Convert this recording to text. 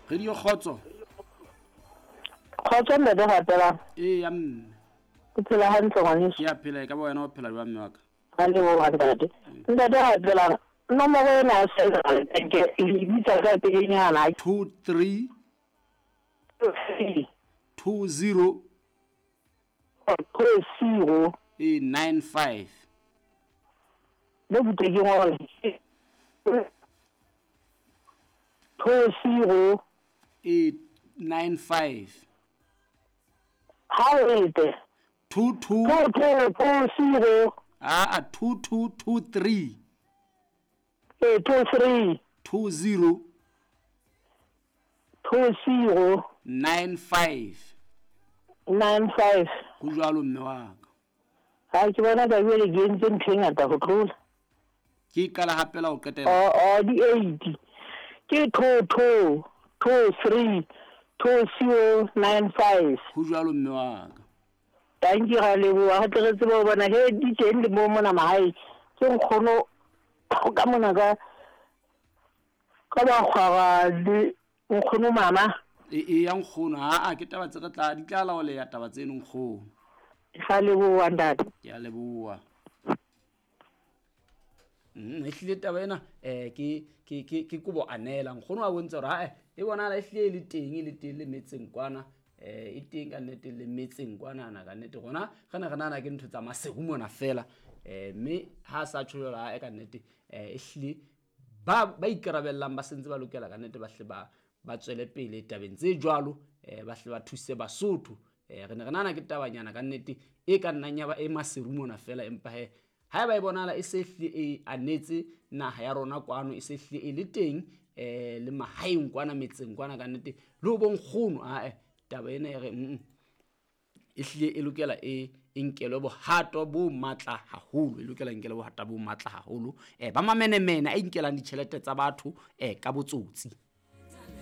Radio Kgotso. Kgotso ntate Rapelang. Ee ya mme. O phela hantle ngwaneso. Ke a phela e ka ba wena o phela jwang mme wa ka? Ra leboha ntate. Ntate Rapelang, nomoro ena ya Central Bank le bitsa ka pelenyana. 2 3 2 0 2 0 e 9 5. Le butle ke ngole. 2 0 e 9 5. Ha o ete. 2 2 2 2 2 0. Ah, 2 2 2 3. E 2 3. 2 0. 2 0. 9 5. 9 5. Ho jwalo mme wa ka. Ha ke bona ka jwale ke entse ntho e ngata ho tlola. Ke qala hape la ho qetela. O di 8. Ke 2 2 2 3 2 0 9 5. Ho jwalo mme wa ka. Thank you ra leboha, re tle re tsebe ho bona he di teng le mo mona mahae. Ke nkgono ka mona ka ka bakgwara le nkgono mama. E ya nkgono ha a ke taba tse re tla di tla laoleya taba tseno nkgono. Ra leboha ntate. Ke a leboha. Ehlile taba ena ke kobo anela nkgono a bontsha hore ha e bonahala ehlile e le teng e le teng le metseng kwana. E teng ka nnete le metseng kwanana ka nnete rona re ne re nahana ke ntho tsa Maseru mona fela. Mme ha sa tjho jwalo ha e ka nnete ehlile ba ikarabellang ba sentse ba lokela ka nnete ba hle ba tswele pele tabeng tse jwalo, ba hle ba thuse Basotho. Re ne re nahana ke tabanyana ka nnete e ka nnang ya ba e Maseru mona fela, empa he haeba e bonahala e se hlile e anetse naha ya rona kwano, e se hlile e le teng le mahaeng kwana metseng kwana ka nnete le ho bonkgono ae taba ena e re e hlile e lokela e nkelwe bohato bo matla haholo, e lokela nkelwe bohato bo matla haholo ba mamenemene a inkelang ditjhelete tsa batho ka botsotsi.